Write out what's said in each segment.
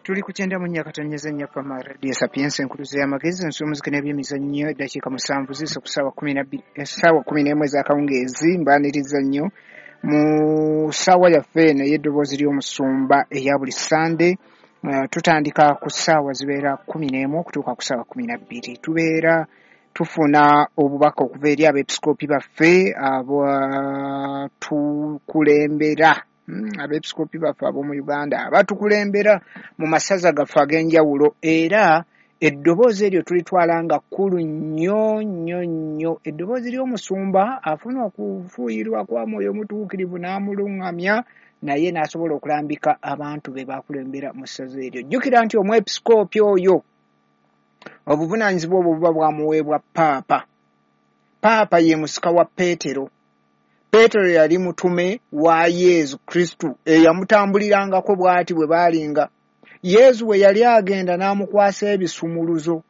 Tuli ku 94.4 Pama Radio Sapienza, enkuluze y'amagezi, ensi y'omuziki n'ebyemizannyo. Eddakiika 7 ziyise ku ssaawa 12, essaawa 11 ez'akawungeezi. Mbaaniriza nnyo mu ssaawa yaffe eno ey'eddoboozi ly'omusumba eya buli Ssande. Tutandika ku ssaawa zibeera 11 okutuuka ku ssaawa 12. Tubeera tufuna obubaka okuva eri abeepisikoopi baffe abatukulembera, abeepisikoopi baffe ab'omu Uganda abatukulembera mu masaza gaffe ag'enjawulo, era eddoboozi eryo tulitwala nga kkulu nnyo nnyo nnyo. Eddoboozi ly'omusumba afuna okufuuyirwa kwa Mwoyo Mutuukirivu n'amuluŋŋamya, naye n'asobola okulambika abantu be bakulembera mu ssaza eryo. Jjukira nti omwepisikoopi oyo obuvunaanyizibwa obwo buba bwamuweebwa Paapa. Paapa ye musika wa Peetero. Peetero yali mutume wa Yesu Kristu eyamutambulirangako bw'ati bwe baalinga. Yesu bwe yali agenda n'amukwasa ebisumuluzo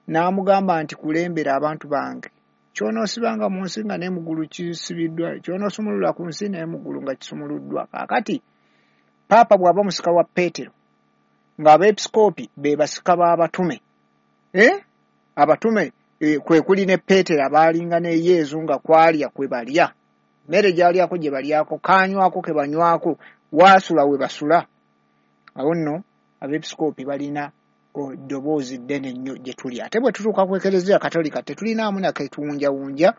n'amugamba nti kulembera abantu bange. Ky'onoosibanga mu nsi nga ne mu ggulu kisibiddwa, ky'onoosumulula ku nsi ne mu ggulu nga kisumuluddwa. Kaakati Paapa bw'aba musika wa Peetero, ng'abeepisikoopi be basika b'abatume. Abatume kwe kuli ne Peetero abaalinga ne Yesu nga kwalya kwe balya, mmere gy'alyako gye balyako, kaanywako ke banywako, waasula we basula. Awo nno abeepisikoopi balina eddoboozi ddene nnyo gye tuli. Ate bwe tutuuka ku Ekereziya Katolika tetulinaamu na ketuwunjawunja,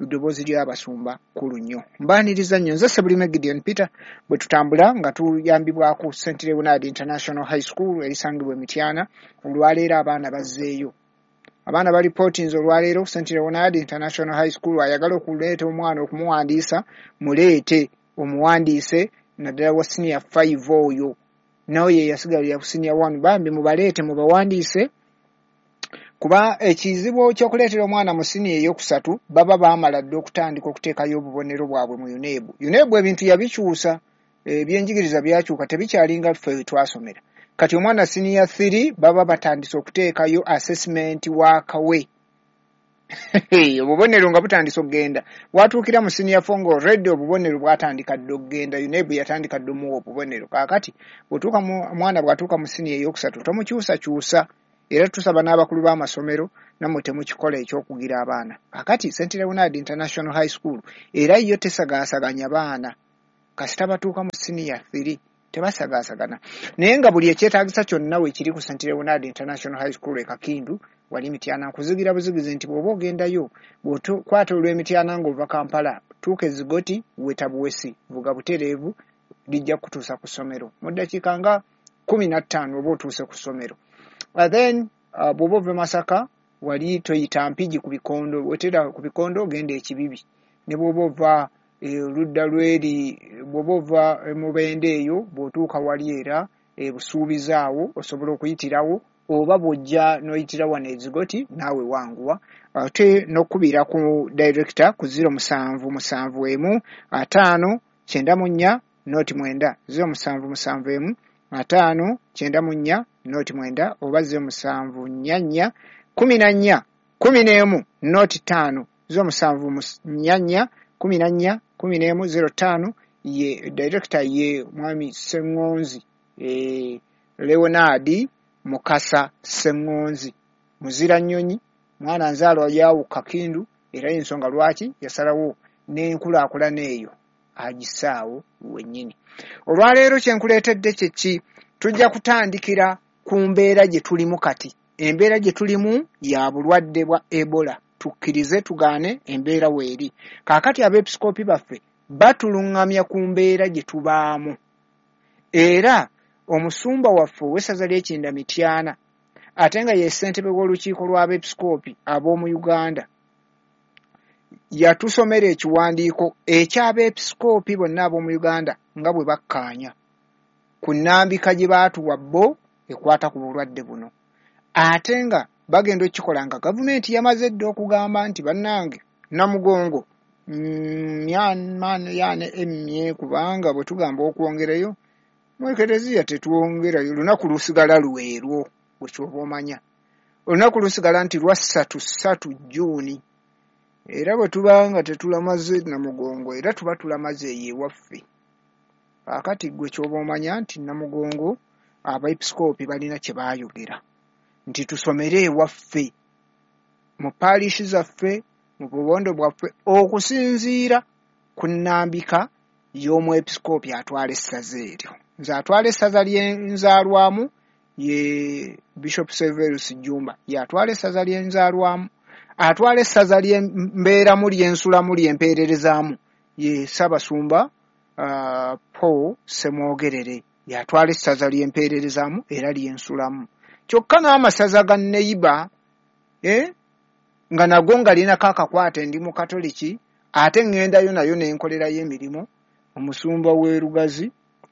eddoboozi ly'abasumba kkulu nnyo. Mbaaniriza nnyo, nze Ssebulime Gideon Peter, bwe tutambula nga tuyambibwako St Leonard International High School erisangibwa e Mityana. Olwaleero abaana bazzeeyo, abaana balipootinze olwaleero St Leonard International High School. Ayagala okuleeta omwana okumuwandiisa, muleete omuwandiise, naddala wa senior 5 oyo n'oyo eyasigalira ku senior 1, bambi mubaleete mubawandiise, kuba ekizibu ky'okuleetera omwana mu siniya eyokusatu baba baamala dda okutandika okuteekayo obubonero bwabwe mu UNEB. UNEB ebintu yabikyusa, ebyenjigiriza byakyuka, tebikyalinga ffe we twasomera. Kati omwana siniya 3 baba batandise okuteekayo assessment waakawe, obubonero nga butandise okugenda. Watuukira mu siniya 4 nga already obubonero bwatandika dda okugenda, UNEB yatandika dda omuwa obubonero. Kaakati bw'otuuka omwana bw'atuuka mu siniya eyokusatu tomukyusakyusa, era tusaba n'abakulu b'amasomero nammwe temukikola ekyokugira abaana. Kaakati St Leonard International High School era yo tesagaasaganya baana, kasita batuuka mu siniya 3 tebasagaasagana, naye nga buli ekyetaagisa kyonna weekiri ku St Leonard International High School e Kakindu wali Mityana. Nkuzigira buzigizi nti bw'oba ogendayo, bw'okwata olw'Emityana ng'ova Kampala, tuuka Ezigoti, weta buwesi, vuga butereevu, lijja kukutuusa ku ssomero mu ddakiika nga 15 oba otuuse ku ssomero. Then bw'oba ova Masaka wali toyita Mpigi ku bikondo, wetera ku bikondo ogenda Ekibibi. Ne bw'oba ova oludda lweri, bw'oba ova Mubende eyo, bw'otuuka wali era Busuubizi awo osobola okuyitirawo, oba bw'ojja n'oyitira wano Ezigoti naawe wanguwa. Ate n'okukubira ku director ku 0771 5 94 09, 0771 5 94 09, oba 0744 14 11 05, 0744 14 11 05. Ye director ye mwami Sseŋŋonzi, Leonard Mukasa Sseŋŋonzi, muzira nnyonyi, mwana nzaalwa yawo Kakindu, era y'ensonga lwaki yasalawo n'enkulaakulana eyo agissaawo wennyini. Olwaleero kye nkuleetedde kye ki? Tujja kutandikira ku mbeera gye tulimu kati. Embeera gye tulimu ya bulwadde bwa Ebola, tukkirize tugaane, embeera weeri. Kaakati abeepisikoopi baffe batuluŋŋamya ku mbeera gye tubaamu, era omusumba waffe ow'essaza ly'Ekinda Mityana, ate nga ye ssentebe w'olukiiko lw'abeepisikoopi ab'omu Uganda, yatusomera ekiwandiiko eky'abeepisikoopi bonna ab'omu Uganda nga bwe bakkaanya ku nnambika gye baatuwa bo ekwata ku bulwadde buno, ate nga bagenda okukikola nga gavumenti yamaze dda okugamba nti bannange Namugongo yaane emmye, kubanga bwe tugamba okwongerayo mu Ekereziya tetwongerayo, lunaku lusigala lwerwo. Bwe kyoba omanya olunaku lusigala nti lwa 3 3 June, era bwe tuba nga tetulamaze Namugongo, era tuba tulamaze eyo ewaffe. Kaakati ggwe ky'oba omanya nti Namugongo Abeepisikoopi balina kye baayogera nti tusomere ewaffe mu paalishi zaffe, mu bubondo bwaffe, okusinziira ku nnambika y'omwepisikoopi atwala essaza eryo. Nze atwala essaza lyenzaalwamu ye Bishop Severus Jjumba, y'atwala essaza lyenzaalwamu. Atwala essaza lyembeeramu, lyensulamu, lyempeererezaamu ye Ssaabasumba Paul Ssemwogerere, y'atwala essaza lyempeererezaamu era lyensulamu. Kyokka n'amasaza ga neyiba nga nago nga linako akakwate, ndi Mukatoliki ate ŋŋendayo nayo ne nkolerayo emirimu. Omusumba w'e Lugazi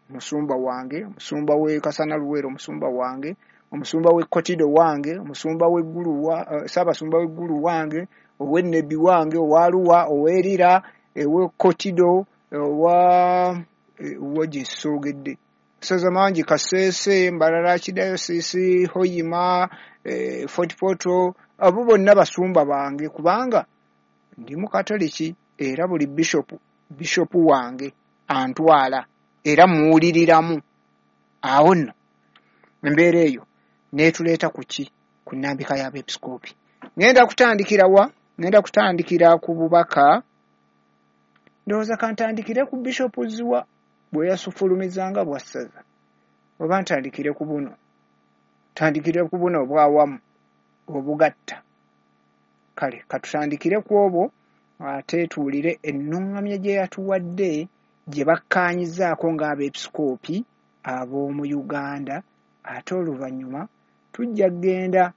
musumba wange, omusumba w'e Kasana Luweero omusumba wange, omusumba w'e Kotido wange, omusumba w'e Ggulu Ssaabasumba w'e Ggulu wange, ow'e Nebbi wange, owa Luwa, ow'e Lira, ow'e Kotido, owa gye soogedde masaza mangi, Kasese, Mbarara Archdiocese, Hoima, Fort Portal, abo bonna basumba bange kubanga ndi Mukatoliki era buli bishopu, bishopu wange antwala era muwuliriramu. Awo nno embeera eyo n'etuleeta ku ki? Ku nnambika y'abeepisikoopi. Ŋŋenda kutandikira wa? Ŋŋenda kutandikira ku bubaka, ndowooza kantandikire ku Bishopu Zziwa bwe yasufulumizanga bwa ssaza, oba ntandikire ku buno? Ntandikire ku buno obwawamu obugatta. Kale katutandikire ku obwo ate tuwulire ennuŋŋamya gye yatuwadde gye bakkaanyizzaako ng'abeepisikoopi ab'omu Uganda, ate oluvannyuma tujja kugenda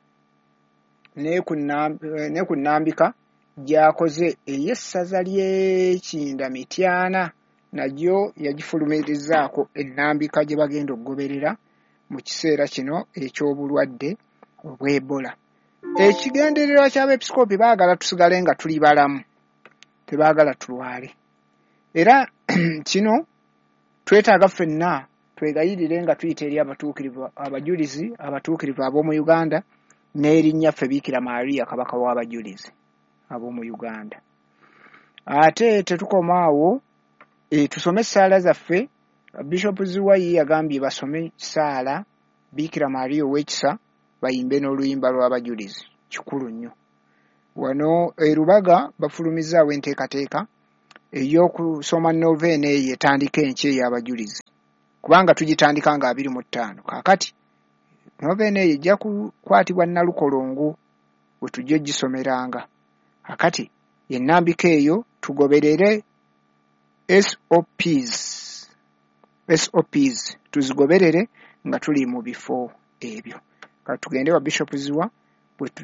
ne ku nnambika gy'akoze ey'essaza ly'e Mityana, nagyo yagifulumirizzaako ennambika gye bagenda okugoberera mu kiseera kino eky'obulwadde obw'Ebola. Ekigendererwa ky'abeepisikoopi, baagala tusigale nga tuli balamu, tebaagala tulwale. Era kino twetaaga ffenna twegayirire nga tuyita eri abatuukirivu, abajulizi abatuukirivu ab'omu Uganda n'erinnya ffe Biikira Maria Kabaka w'abajulizi ab'omu Uganda. Ate tetukoma awo, tusome essaala zaffe. Bishop Zziwa ye yagambye basome ssaala Biikira Maria ow'ekisa, bayimbe n'oluyimba lw'abajulizi. Kikulu nnyo. Wano e Lubaga bafulumizzaawo enteekateeka ey'okusoma noveena eyo etandika enkya ey'abajulizi, kubanga tugitandika nga 25. Kaakati noveena eyo ejja kukwatibwa Nalukolongo we tujja ogisomeranga. Kaakati ennambika eyo tugoberere SOPs, SOPs tuzigoberere nga tuli mu bifo ebyo. Kati tugende wa Bishop Zziwa.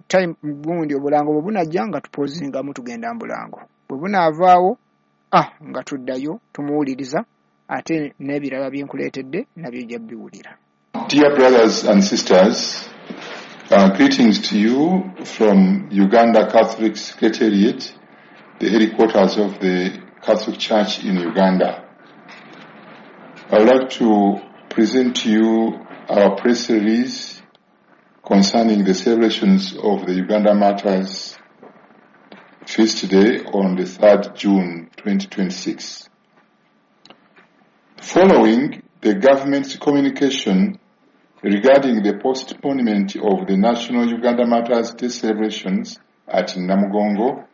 Time gundi obulango bwe bunajja nga tupozingamu, tugenda mu bulango, bwe bunaavaawo nga tuddayo tumuwuliriza, ate n'ebirala bye nkuleetedde nabyo ojja biwulira. Dear brothers and sisters, greetings to you from Uganda Catholic Secretariat, the headquarters of the Catholic Church in Uganda. I would like to present to you our press release concerning the celebrations of the Uganda Martyrs Feast Day on the 3rd June 2026. Following the government's communication regarding the postponement of the National Uganda Martyrs Day celebrations at Namugongo,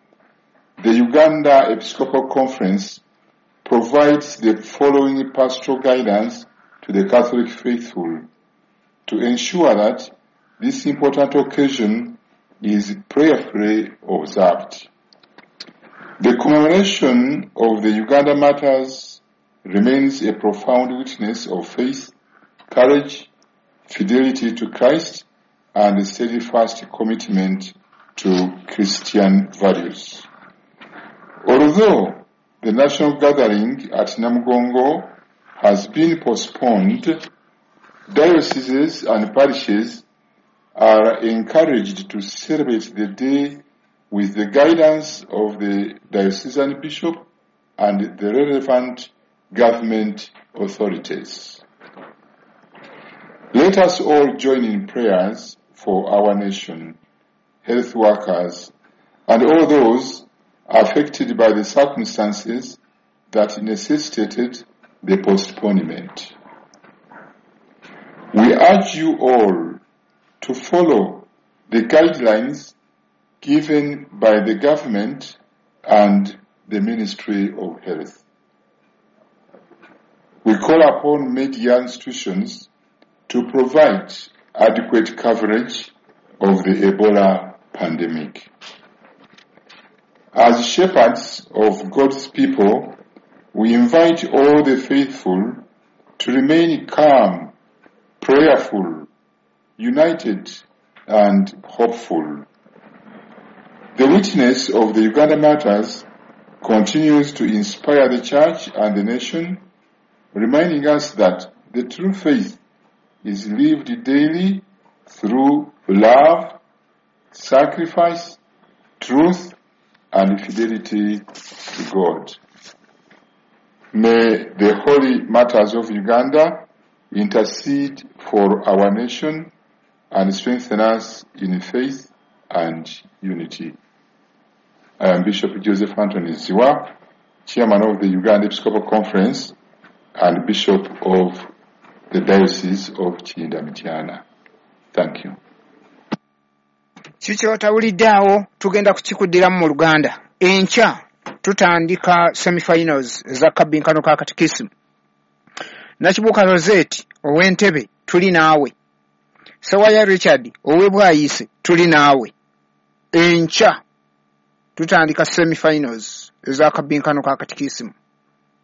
the Uganda Episcopal Conference provides the following pastoral guidance to the Catholic faithful to ensure that this important occasion is prayerfully observed. The commemoration of the Uganda Martyrs remains a profound witness of faith, courage, fidelity to Christ, and a steadfast commitment to Christian values. Although the national gathering at Namugongo has been postponed, dioceses and parishes are encouraged to celebrate the day with the guidance of the diocesan bishop and the relevant government authorities. Let us all join in prayers for our nation, health workers, and all those affected by the circumstances that necessitated the postponement. We urge you all to follow the guidelines given by the government and the Ministry of Health. We call upon media institutions to provide adequate coverage of the Ebola pandemic. As shepherds of God's people, we invite all the faithful to remain calm, prayerful, united, and hopeful. The witness of the Uganda Martyrs continues to inspire the Church and the nation, reminding us that the true faith is lived daily through love, sacrifice, truth, and fidelity to God. May the holy martyrs of Uganda intercede for our nation and strengthen us in faith and unity. I am Bishop Joseph Anthony Zziwa, Chairman of the Uganda Episcopal Conference and Bishop of the Diocese of Kiyinda Mityana. Thank you. Kikyotawulidde awo tugenda kukikuddiramu mu Luganda. Enkya tutandika semifinals eza kabbinkano ka katikisimu. Nakibuuka Rosette ow'Entebbe tuli naawe. Sewaya Richard ow'e Bwayise tuli naawe. Enkya tutandika semifinals eza kabbinkano ka katikisimu.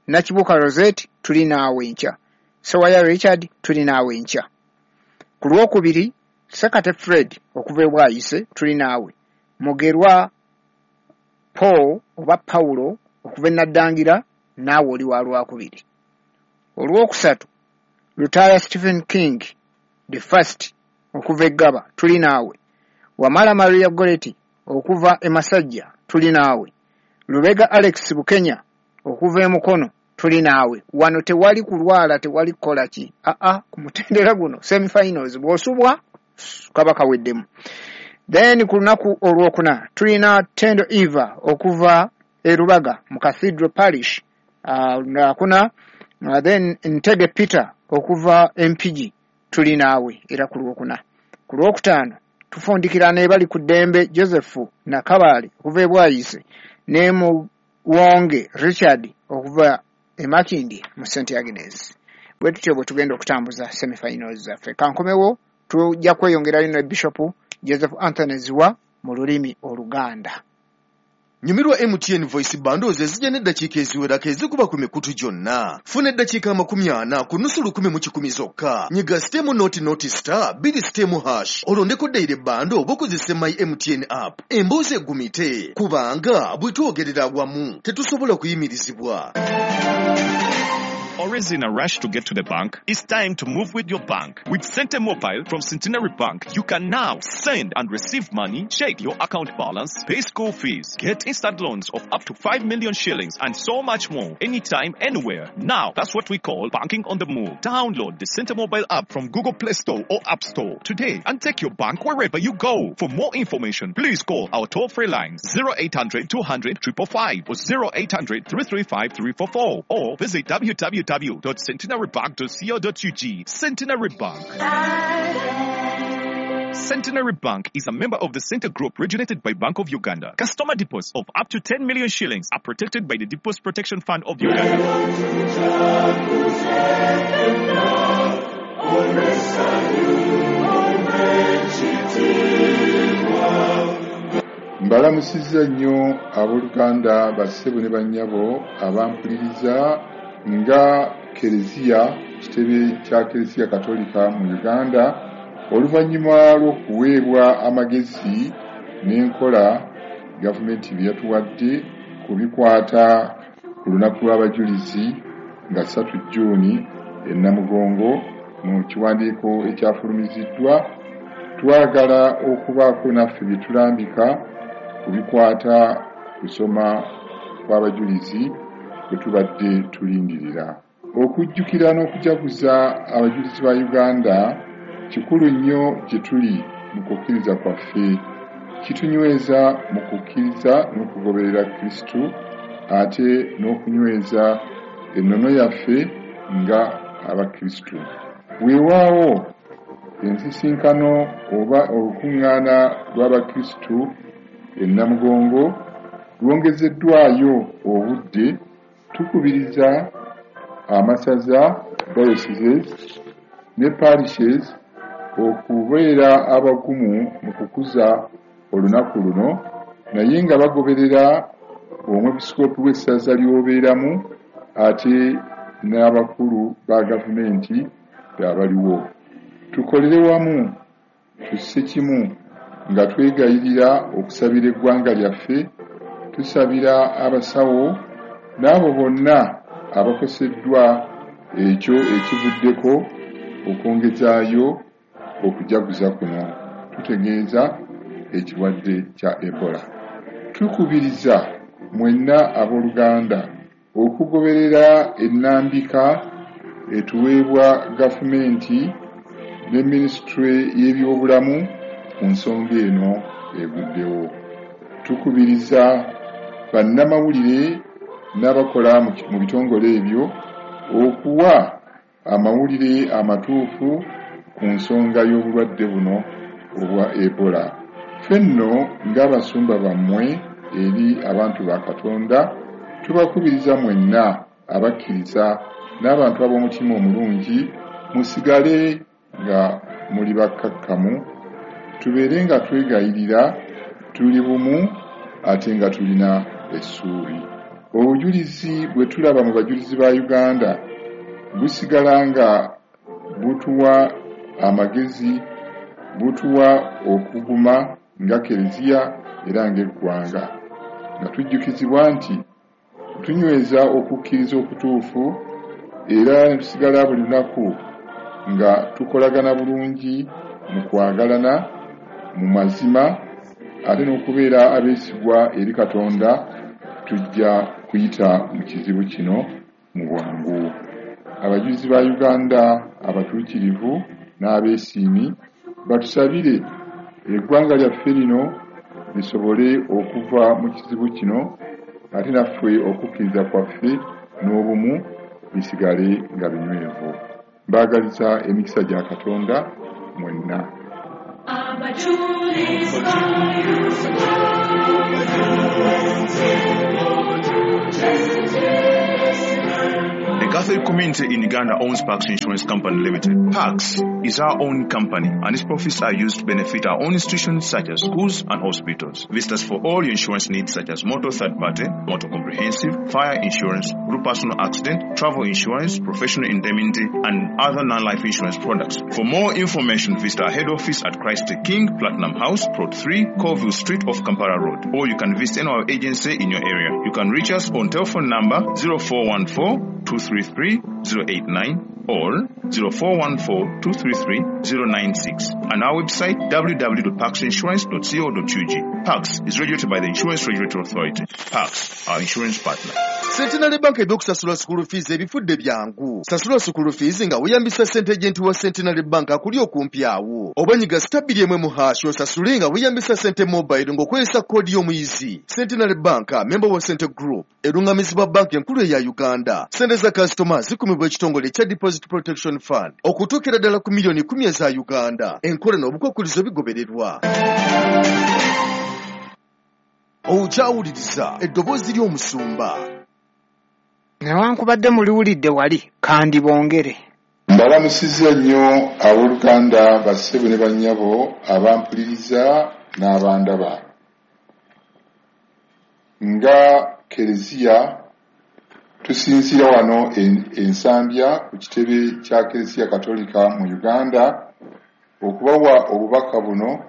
Nakibuuka Rosette tuli naawe enkya. Sewaya Richard tuli naawe enkya. Ku Lwokubiri Sekate Fred okuva e Bwayise tuli naawe. Mugerwa Paul oba Paulo okuva e Naddangira naawe oli wa Lwakubiri. Olwokusatu Lutaaya Stephen King the first okuva e Ggaba tuli naawe. Wamala Maria Goretti okuva e Masajja tuli naawe. Lubega Alex Bukenya okuva e Mukono tuli naawe. Wano tewali kulwala, tewali kukola ki. Aa, ku mutendera guno semifinals bw'osubwa kaba kaweddemu. Then ku lunaku olwokuna tulina Tendo Eva okuva e Rubaga mu Cathedral Parish lwakuna. Then Ntege Peter okuva Mpigi tuli naawe era ku Lwokuna. Ku Lwokutaano tufundikira ne bali ku ddembe Joseph Nakabaale okuva e Bwayise ne Muwonge Richard okuva e Makindye mu St Agnes. Bwe tutyo bwe tugenda okutambuza semifinals zaffe. Kankomewo tujja kweyongerayo ne Bishop Joseph Anthony Zziwa mu lulimi Oluganda. Nyumirwa MTN Voice Bundles ezijja n'eddakiika eziwerako ezikuba ku mikutu gyonna. Funa eddakiika 40 ku nusu 1,100 zokka. Nyiga sitemu noti noti star bbiri sitemu hash olondeko daily bundle oba okozese My MTN app. Emboozi egumite kubanga bwe twogerera awamu tetusobola kuyimirizibwa. Always in a rush to get to the bank? It's time to move with your bank. With Sente Mobile from Centenary Bank, you can now send and receive money, check your account balance, pay school fees, get instant loans of up to 5 million shillings, and so much more, anytime, anywhere. Now, that's what we call banking on the move. Download the Sente Mobile app from Google Play Store or App Store today and take your bank wherever you go. For more information, please call our toll-free lines 0800 200 555 or 0800 335 344 or visit www.centenarybank.co.ug. Centenary Bank. Centenary Bank is a member of the Center Group regulated by Bank of Uganda. Customer deposits of up to 10 million shillings are protected by the Deposit Protection Fund of Uganda. Mbalamusizza nnyo abooluganda, bassebo ne bannyabo abampuliriza nga Kereziya, kitebe kya Kereziya Katolika mu Uganda, oluvannyuma lw'okuweebwa amagezi n'enkola gavumenti bye yatuwadde ku bikwata ku lunaku lw'abajulizi nga 3 Jjuuni e Namugongo mu kiwandiiko ekyafulumiziddwa, twagala okubaako naffe bye tulambika ku bikwata kusoma kw'abajulizi bwe tubadde tulindirira. Okujjukira n'okujaguza abajulizi ba Uganda kikulu nnyo gye tuli mu kukkiriza kwaffe. Kitunyweza mu kukkiriza n'okugoberera Kristo, ate n'okunyweza ennono yaffe nga Abakristo. Weewaawo Ensisinkano oba olukuŋŋaana lw'Abakristu e Namugongo lwongezeddwayo obudde, tukubiriza amasaza, dioceses ne parishes okubeera abagumu mu kukuza olunaku luno naye nga bagoberera omwepisikoopi w'essaza ly'obeeramu ate n'abakulu ba gavumenti abaliwo. Tukolere wamu tusse kimu nga twegayirira okusabira eggwanga lyaffe, tusabira abasawo n'abo bonna abakoseddwa ekyo ekivuddeko okwongezaayo okujaguza kuno, tutegeeza ekirwadde kya Ebola. Tukubiriza mwenna abooluganda okugoberera ennambika etuweebwa gavumenti ne minisitule y'ebyobulamu ku nsonga eno eguddewo. Tukubiriza bannamawulire n'abakola mu bitongole ebyo okuwa amawulire amatuufu ku nsonga y'obulwadde buno obwa Ebola. Ffe nno ng'abasumba bammwe eri abantu ba Katonda, tubakubiriza mwenna abakkiriza n'abantu ab'omutima omulungi musigale nga muli bakkakkamu, tubeere nga twegayirira, tuli bumu ate nga tulina essuubi. Obujulizi bwe tulaba mu bajulizi ba Uganda busigala nga butuwa amagezi, butuwa okuguma nga Kereziya era ng'eggwanga, nga tujjukizibwa nti tunyweza okukkiriza okutuufu era ne tusigala buli lunaku nga tukolagana bulungi mu kwagalana mu mazima ate n'okubeera abeesigwa eri Katonda, tujja kuyita mu kizibu kino mu bwangu. Abajulizi ba Uganda abatuukirivu n'abeesiimi batusabire eggwanga lyaffe lino lisobole okuva mu kizibu kino ate naffe okukkiriza kwaffe n'obumu bisigale nga binywevu. Mbaagaliza emikisa gya Katonda mwenna. The Catholic community in Uganda owns Pax Insurance Company Limited. Pax is our own company and its profits are used to benefit our own institutions such as schools and hospitals. Visit us for all your insurance needs such as motor third party, motor comprehensive, fire insurance, group personal accident, travel insurance, professional indemnity and other non-life insurance products. For more information, visit our head office at Christ the King, Platinum House, Plot 3, Colville Street off Kampala Road. Or you can visit any of our agency in your area. You can reach us on telephone number 0414 233 089 or 0414 233 096 and our website www.paxinsurance.co.ug. Pax is regulated by the Insurance Regulatory Authority. Pax, our insurance partner. Centenary Bank ebyokusasula school fees ebifudde byangu. Sasula school fees nga weeyambisa ssente agent wa Centenary Bank akuli okumpi awo. Oba nyiga star 2 mu hash osasule nga weeyambisa Sente Mobile ng'okozesa koodi y'omuyizi. Centenary Bank, member wa Sente Group, erungamizibwa banka enkulu eya Uganda. Ssente za kasitoma zikumibwa ekitongole ekya Deposit Protection Fund okutuukira ddala ku miliyoni 10 eza Uganda. Enkola n'obukwakkulizo bigobererwa. Okyawuliriza eddoboozi ly'omusumba. Newankubadde muliwulidde wali kandi bongere. Mbalamusizza nnyo abooluganda, bassebo ne bannyabo abampuliriza n'abandaba. Nga Kereziya tusinziira wano Ensambya ku kitebe kya Kereziya Katolika mu Uganda okubawa obubaka buno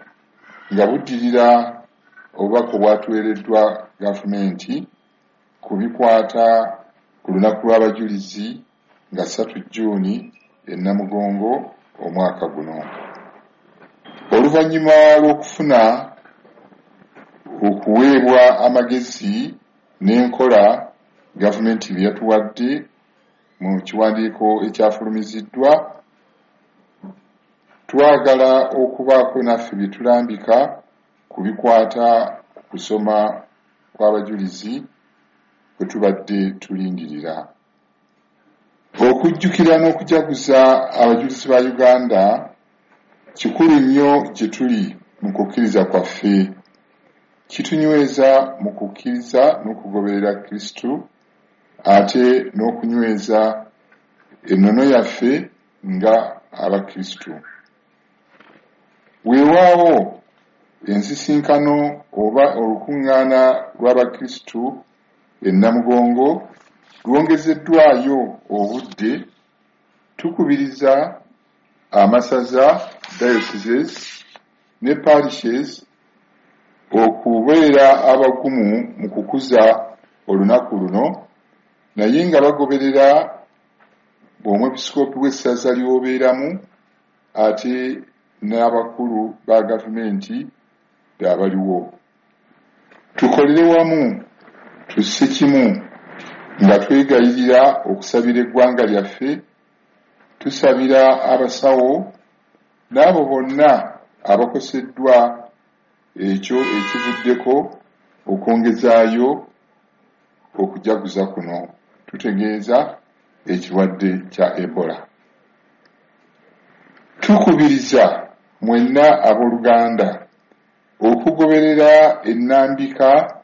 nga buddirira obubaka obwatuweereddwa gavumenti ku bikwata ku lunaku lw'abajulizi nga 3 Jjuuni e Namugongo omwaka guno. Oluvannyuma lw'okufuna okuweebwa amagezi n'enkola gavumenti bye yatuwadde mu kiwandiiko ekyafulumiziddwa, twagala okubaako naffe bye tulambika ku bikwata ku kusoma kw'abajulizi kwe tubadde tulindirira. Okujjukira n'okujaguza abajulizi ba Uganda Kikulu nnyo gye tuli mu kukkiriza kwaffe. Kitunyweza mu kukkiriza n'okugoberera Kristo ate n'okunyweza ennono yaffe nga Abakristo. Weewaawo ensisinkano oba olukuŋŋaana lw'Abakristo e Namugongo lwongezeddwayo obudde, tukubiriza amasaza, dioceses ne parishes okubeera abagumu mu kukuza olunaku luno naye nga bagoberera Omwepisikoopi w'essaza ly'obeeramu ate n'abakulu ba gavumenti abaliwo. Tukolere wamu tusse kimu nga twegayirira okusabira eggwanga lyaffe, tusabira abasawo n'abo bonna abakoseddwa ekyo ekivuddeko okwongezaayo okujaguza kuno, tutegeeza ekirwadde kya Ebola. Tukubiriza mwenna abooluganda okugoberera ennambika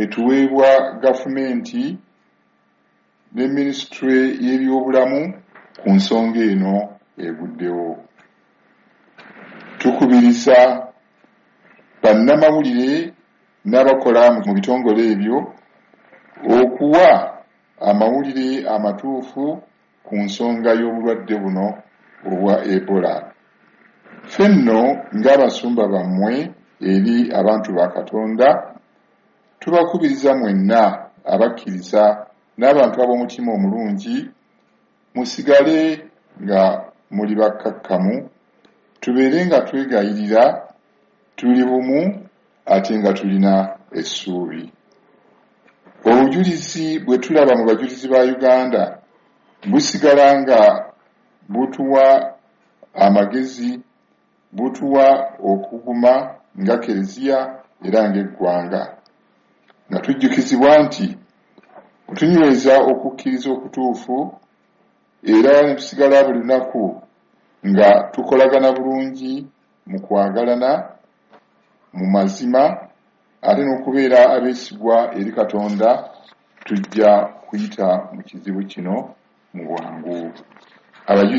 etuweebwa gavumenti ne minisitule y'ebyobulamu ku nsonga eno eguddewo. Tukubiriza bannamawulire n'abakola mu bitongole ebyo okuwa amawulire amatuufu ku nsonga y'obulwadde buno obwa Ebola. Ffe nno ng'abasumba bammwe eri abantu ba Katonda, tubakubiriza mwenna abakkiriza n'abantu ab'omutima omulungi musigale nga muli bakkakkamu, tubeere nga twegayirira, tuli bumu ate nga tulina essuubi. Obujulizi bwe tulaba mu Bajulizi ba Uganda busigala nga butuwa amagezi, butuwa okuguma nga Keleziya era ng'eggwanga, nga tujjukizibwa nti bwe tunyweza okukkiriza okutuufu era ne tusigala buli lunaku nga tukolagana bulungi mu kwagalana, mu mazima ate n'okubeera abeesigwa eri Katonda, tujja kuyita mu kizibu kino mu bwangu. Abajulizi.